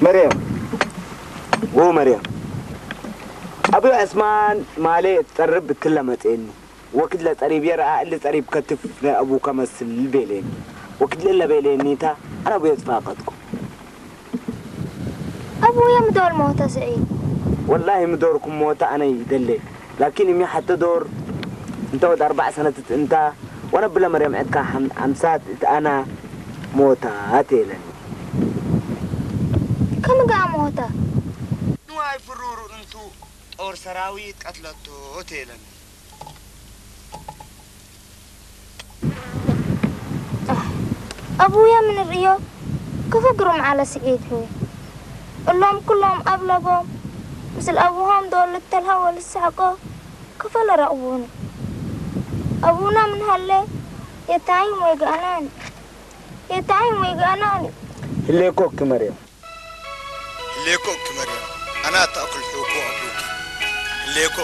መርያም፣ ወ መርያም፣ ኣብዮ ዕስማን ማሌ ትጸርብ ብትለ መጽኤኒ። ወክድለ ጸሪብ የረኣ እሊ ጸሪብ ከትፍ ናይ ኣቡ ከመስል ቤሌኒ። ወክድለ ለቤሌኒታ ኣነ ኣብዮ ትፋቀጥኩ። ኣቡየ ምዶር ሞተ ስዒድ። ወላሂ ምዶርኩም ሞተ ኣነ ይደሌ። ላኪን እሚ ሓተ ዶር እንተ ወድ ኣርባዕ ሰነትት እንታ ወነ ብለ መርያም ዕድካ ሓም- ሓምሳት እት ኣና ሞታ ኣቴለኒ። ከም ገኣ ሞተ። ንዋይ ፍሩሩ እንቱ ጦር ሰራዊት ቀትለቶ ቴለኒ። ኣቡየ ምንርእዮ ክፈግሩ መዓለ ስዒድ ህወ እሎም ኩሎም ኣብ ለቦም ምስል ኣቡሆም ዶል ተልሃወ ልስሕቆ ክፈለ ረቕቡኒ። ኣቡና ምን ሃለ የታይም ወይ ገኣናኒ የታይም ወይ ገኣናኒ። ህሌኮ ክመርዮ ህሌኮ ክመርዮ ኣና ተኣኩል ሕውኮ ኣቡኪ ህሌኮ